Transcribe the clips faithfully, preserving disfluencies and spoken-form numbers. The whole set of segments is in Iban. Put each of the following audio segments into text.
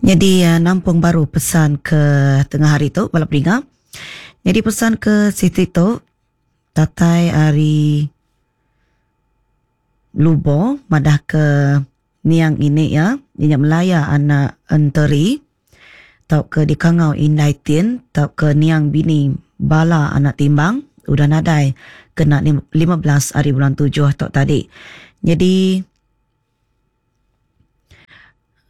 Jadi uh, nampung baru pesan ke tengah hari tu bala peninga. Jadi pesan ke siti tu datai ari Lubo madah ke niang ini ya, inya Melaya anak Enteri tau ke dikangau Indai Tin tau ke niang bini bala anak timbang udah nadai kena lima belas hari bulan tujuh tau tadi. Jadi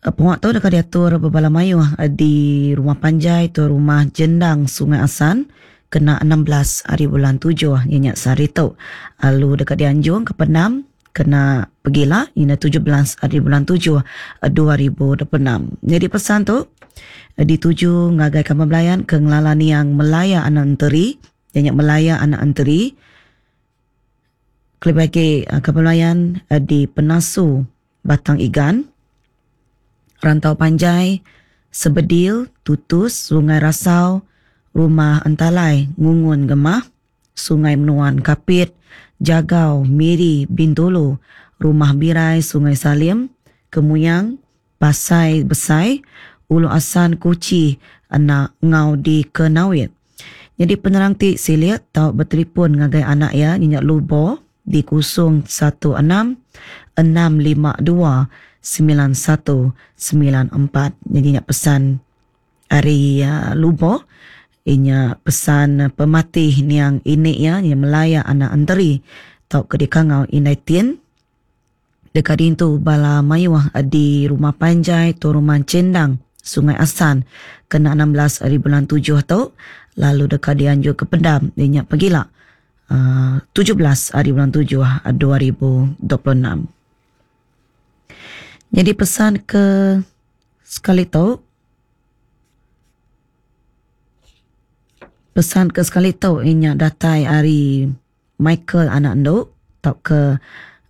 penguat tu dekat diatur bebala mayuh di rumah panjai tu rumah Jendang Sungai Asan kena enam belas hari bulan tujuh ianya sehari tu. Lalu dekat dianjung ke Penam kena pergilah ianya tujuh belas hari bulan tujuh dua ribu dua puluh enam. Jadi pesan tu dituju ngagai kaban belayan ke ngelala niang Melaya anak Enteri, ianya Melaya anak Enteri. Kelebih lagi kaban belayan di Penasu Batang Igan, Rantau Panjai, Sebedil, Tutus, Sungai Rasau, Rumah Entalai, Ngungun Gemah, Sungai Menuan Kapit, Jagau, Miri, Bintulu, Rumah Birai, Sungai Salim, Kemuyang, Pasai Besai, Ulu Asan, Kuchi, anak ngau di Kenawit. Jadi penerang ti silik tau bertelefon ngagai anak ya nyenyak Lubo di kosong satu enam enam lima dua sembilan satu sembilan empat. Jadi nyak pesan ari uh, Lubo inya pesan pematih niang ini ya nya Melaya anak Enteri tau ke dikangau Indai Tin dekat dintu bala mayuh di rumah panjai tu rumah Cendang Sungai Asan kena enam belas hari bulan tujuh tu, lalu dekat dianjur ke Pendam inya pegila uh, tujuh belas hari bulan tujuh dua ribu dua puluh enam. Jadi pesan ke sekali tu pesan ke sekali tu inya datai ari Michael anak enduk tau ke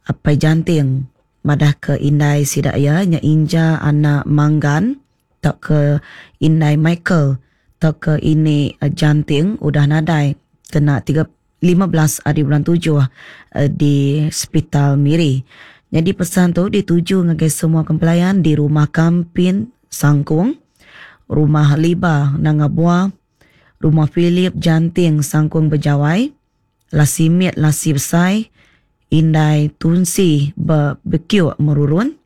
apai janting madah ke indai sida ya nya Inja anak Manggan tau ke indai Michael tau ke ini janting udah nadai kena tiga lima belas hari bulan tujuh di Hospital Miri. Jadi pesan tu dituju ngagai semua kempelayan di rumah Kampin Sangkung, rumah Liba Nangabua, rumah Philip Janting Sangkung Bejawai, Lasimit Lasi Besai, Indai Tunsi Bekiuk Merurun,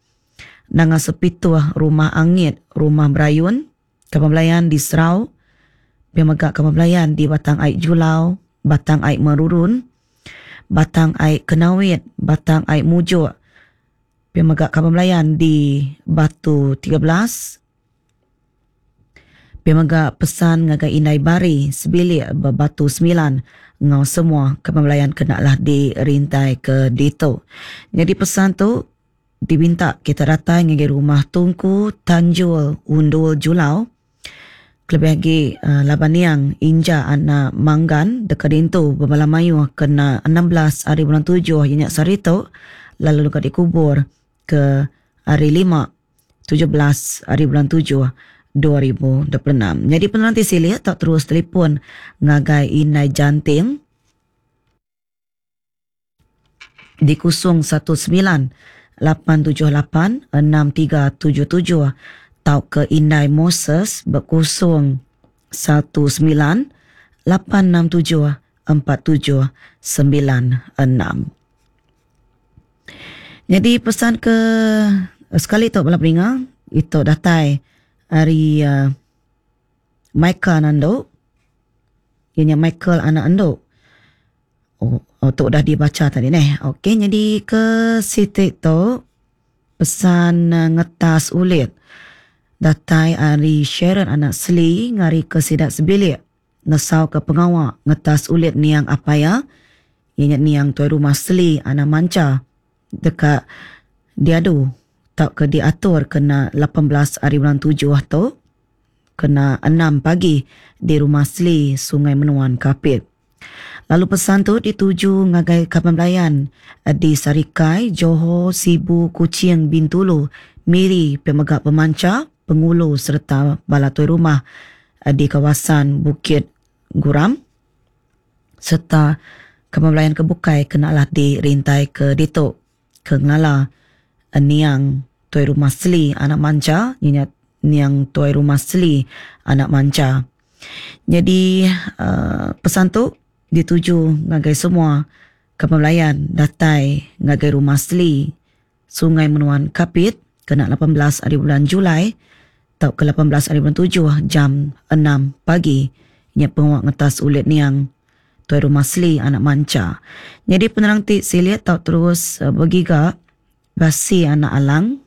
Nanga Sepituh Rumah Angit, Rumah Berayun, Kampung Belayan di Serau, Pemegak Kampung Belayan di Batang Aik Julau, Batang Aik Merurun, Batang Aik Kenawit, Batang Aik Mujuk, Pemegak Kampung Belayan di Batu tiga belas, Pemegak pesan ngagai Indai Bari sebilik berbatu sembilan ngau semua Kampung Belayan kenalah dirintai ke ditu. Jadi pesan tu diminta kita datang ngagai rumah Tungku Tanjul Undul Julau. Kelebih lagi uh, laban yang Inja anak Manggan dekat dintu bebala mayuh kena enam belas hari bulan tujuh ianya sehari tu, lalu dekat dikubur ke hari lima tujuh belas hari bulan tujuh dua ribu dua puluh enam. Jadi penanti silik tak terus telefon ngagai Indai Janting di kosong satu sembilan lapan tujuh lapan enam tiga tujuh tujuh tau ke Indai Moses berkosong satu sembilan lapan enam tujuh empat tujuh sembilan enam. Jadi pesan ke sekali tu bala peninga itu datai hari uh, Michael Nando. Ianya Michael anak Ando. Oh, oh tu dah dibaca tadi neh. Okey, jadi ke sitik tu pesan uh, ngetas ulit datai ari Sharon anak Seli ngari ke sidak sebilik nesau ke pengawak ngetas ulit niang apaya ianya niang tuai rumah Seli anak Manca dekat diadu tak ke diatur kena lapan belas hari bulan tujuh tu kena enam pagi di rumah Seli Sungai Menuan Kapit. Lalu pesan tu dituju ngagai kaban belayan di Sarikai, Johor, Sibu, Kuching, Bintulu, Miri, Pemegak Pemanca, Pengulu serta bala tuai rumah di kawasan Bukit Guram serta kaban belayan kebukai kenalah dirintai ke ditu ke ngelala niang tuai rumah Seli anak Manca ianya Niang Tuai Rumah Seli anak Mancha. Jadi uh, pesan tu dituju ngagai semua kepelayan datai ngagai Rumah Seli Sungai Menuan Kapit kena lapan belas hari bulan Julai atau ke lapan belas hari bulan tujuh jam enam pagi. Nya penguat ngetas ulit niang Tuai Rumah Seli anak Mancha. Jadi penerang ti silit tau terus uh, bergiga Basi anak Alang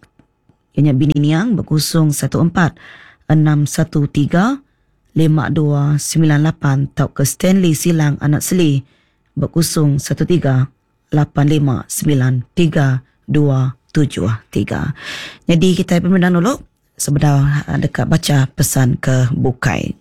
ianya bini niang berkusung satu empat enam satu tiga lima dua sembilan lapan tau ke Stanley Silang anak Seli berkusung satu tiga lapan lima sembilan tiga dua tujuh tiga. Jadi kita pemenang dulu sebenar dekat baca pesan ke bukai.